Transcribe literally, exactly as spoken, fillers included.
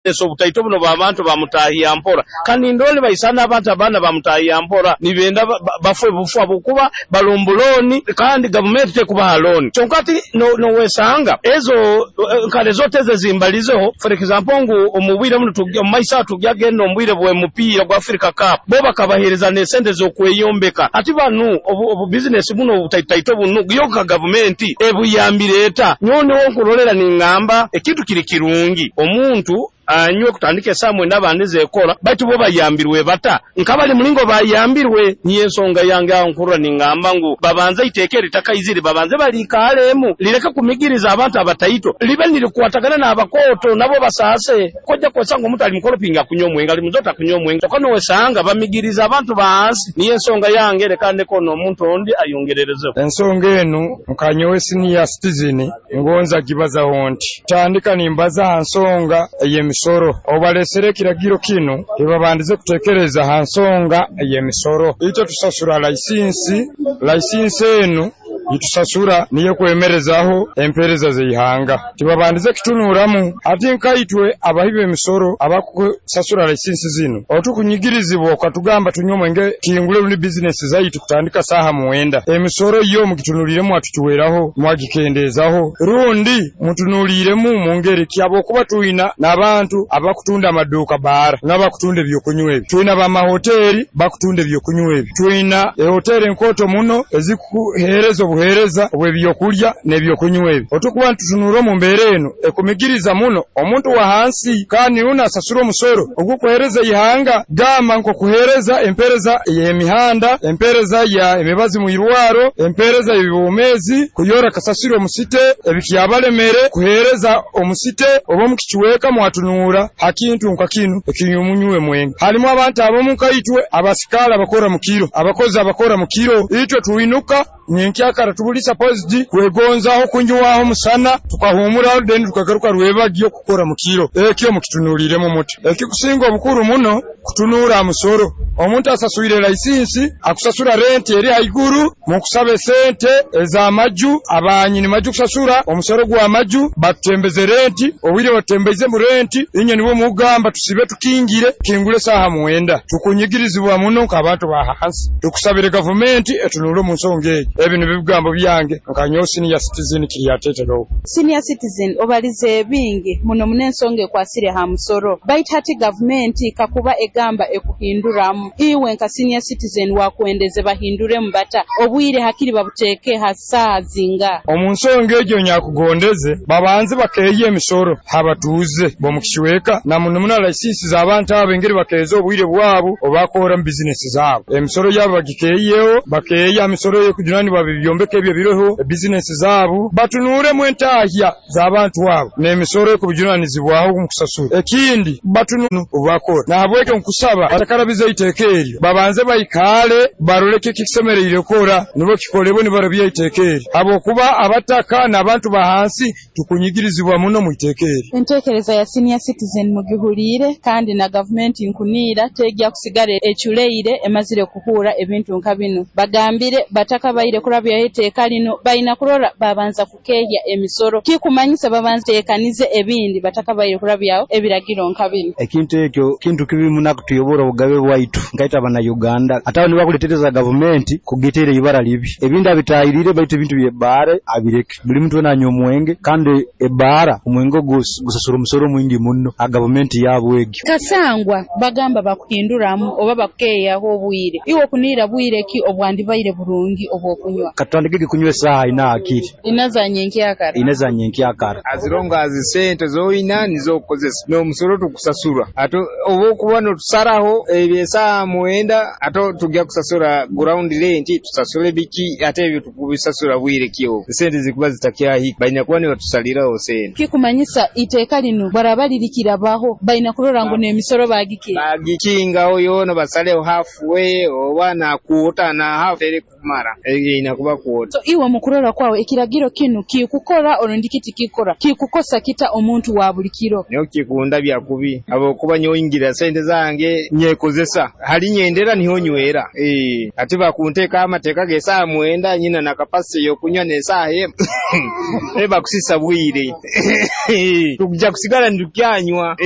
Obutaito buno bw'abantu bamutaahiya mpora, kandi ndora nibaisana abantu abaana bamutaahiya mpora, nibenda bafe bufu habwokuba balomba looni kandi gavumenti tekubaha looni. Kyonka hati nowesanga ezo nka resort ezo ezimbalizeho, for example, ngu omu bwire bunu omu maiso aho tugya genda omu bwire bw'omupiira gwa Africa Cup, bo bakabaheereza n'esente z'okweyombeka. Hati banu obu bizinesi bunu obutaitotaito bunu, yo nka gavumenti ebuyambire eta? Nyowe niho nkurolera ningamba ekintu kiri kirungi, omuntu anywe kutandika esaaha mwenda abandize kukora, baitu bo bayambirwe bata? Nkabali mulingo bayambirwe? Niyo ensonga yange aho nkurora ningamba ngu babanze iteeka eri litakaizire, babanze baliikaalemu, lireke kumigiriza abantu abataito, libe nirikwatagana n'abakooto nabo basaase. Kojja kwesanga omuntu ali mukolopingi akunywa omwenge, ali muzota akunywa omwenge, kyokka nowesanga bamigiriza abantu ba hansi. Niyo ensonga yange, leka ndeke n'omuntu ondi ayongererezeho. Ensonga enu nka nyowe senior citizen ngonza gibazaho nti tandika nimbaza ha nsonga ey'emisoro. Obu balesere ekiragiro kinu, tibabandize kuteekereza ha nsonga ey'emisoro. Itwe tusasura laisinsi, laisinsi enu itusasura niyo ekwemerezaho empeereza z'ihanga. Tibabandize kutunuuramu. Hati nka itwe abahi b'emisoro abakusasura laisinsi zinu, obu tukunyigirizibwa okatugamba tunywe omwenge, kingule rundi bizinesi zaitu kutandika saaha mwenda, emisoro yo mugitunuliiremu, mwatucweraho, mwagikendeezaho, rundi mutunuliiremu mu ngeri ki? Habwokuba twina n'abantu abakutunda amaduuka baara n'abakutunda ebyokunywa ebi, twina bamahoteeri bakutunda ebyokunywa ebi, twina ehoteeri enkooto muno ezikuheereza obuheereza obw'ebyokulya n'ebyokunywa ebi. Obu tukuba nitutunurra omu mbeera enu ekumigiriza muno omuntu wa hansi, kandi rundi asasura omusoro ogukuheereza ihanga, gamba nk'okuheereza empeereza ey'emihanda, empeereza ya emibazi mu irwarro, empeereza y'obwomeezi, kuyora kasasiro omu city, ebikyabalemere kuheereza omu city oba omu kicweka. Mwatunuura ha kintu nka kinu eky'omunywi w'omwenge. Halimu abantu abamu nka itwe abasikaali abakora mu kiro, abakozi abakora mu kiro, itwe twinuka nyenkyakara, tubuli supposed kwegonzaho kunywaho musana tukahumuraho, then tukagaruka rwebagyo kukora mu kiro. Ekyo mukitunuliiremu muti? Ekikusinga obukuru muno kutunuura ha musoro. Omuntu asaswire laisinsi, akusasura renti eri haiguru, mukusaba esente ez'amaju, abanyini maju kusasura omusoro gw'amaju, batutembeze renti. Obwire batutembeizemu renti, inywe nibwo mugamba tusibe tukingire, kingule saaha mwenda. Tukunyigirizibwa muno nk'abantu ba hansi. Tukusabire gavumenti etunuule omu nsonga egi. Ebi nibyo bigambo byange nka nyowe senior citizen Kiryateterowo. Senior citizen, obalize ebingi muno muno ensonga ekwasire ha musoro, baitu hati gavumenti kakuba egamba ekuhinduramu, iwe nka senior citizen wakwendeze bahinduremu bata? Obwire hakiri babuteeke ha saaha zinga? Omu nsonga egyo nyakugondeze babanze bakeeya emisoro habatuuze b'omu kicweka, na muno muno laisinsi z'abantu abo, engeri bakeeza obwire bwabo obu bakorramu bizinesi zaabo. Emisoro yabo bagikeeyeho, bakeeya misoro y'okujunanibwa bibyombeko ebyo biroho bizinesi zaabo, batunuuremu entahya z'abantu abo n'emisoro ekubujunanizibwaho omu kusasura. Ekindi batunu obubakora. Nahabwekyo nkusaba batakarabiza iteeka eryo, babanze baikaale barole kiki kisemeriire kukora, nibwo kikolebwe nibarabya iteeka eryo, habwokuba abataka n'abantu ba hansi tukunyigirizibwa muno mu iteeka eryo. Enteekereza ya senior citizen mugihuliire, kandi na gavumenti nkuniira tegya kusigara eculeire emazire kuhuura ebintu nka binu. Bagambire batakabaire kurabyaho iteeka lino, balina kurora babanza kukeehya emisoro, kikumanyisa babanza teekanize ebindi batakabaire kurabyaho ebiragiro nka binu. Ekintu ekyo kintu kibi muno akutuyobora obugabe bwaitu nkaitwe Abannayuganda. Ate abo nibakuletereza gavumenti kugiteera ibara libi. Ebindi abitahirire, baitu ebintu by'ebbaara abireke. Buli muntu weena anywa omwenge, kandi ebbaara omwenge ogu gusasura omusoro mwingi muno ha gavumenti yaabo egyo. Kasangwa bagamba bakuhinduramu oba bakukeeyaho obwire, iwe okuniira bwire ki obwandibaire burungi obw'okunywa? Katutandikege kunywa esaaha ina hakiri. Ina za nyenkyakara? Ina za nyenkyakara. As long as sente zoina nizo okukozesa n'omusoro tukusasura, ate oba okuba notusaraho ebyo esaaha mwenda, ate tujja kusasura ground rent, tusasule biki, ate ebyo tukubisasura bwire ki obwo esente zikuba zitakyahika? Balina kuba nibatusaliraho sente. Kikumanyisa iteeka linu baraba lirikirabaho, balina kurora ngu n'emisoro bagiki bagikingaho yoona, basaleho halfway oba na quarter na half eri kumara erina kuba quarter. So iwe mukurora kwawe, ekiragiro kinu kikukora orundi kiti kikora kikukosa kita omuntu wa buli kiro? Nyowe kikunda byakubi, habwokuba nyowe ngira sente zange nyekozesa, hali nyendera niho nywera. eh ate bakunteekaho amateeka g'esaaha mwenda, nyina na capacity y'okunywa n'esaaha emu, bakusisa bwire, tukujja kusigara nitukyanywa.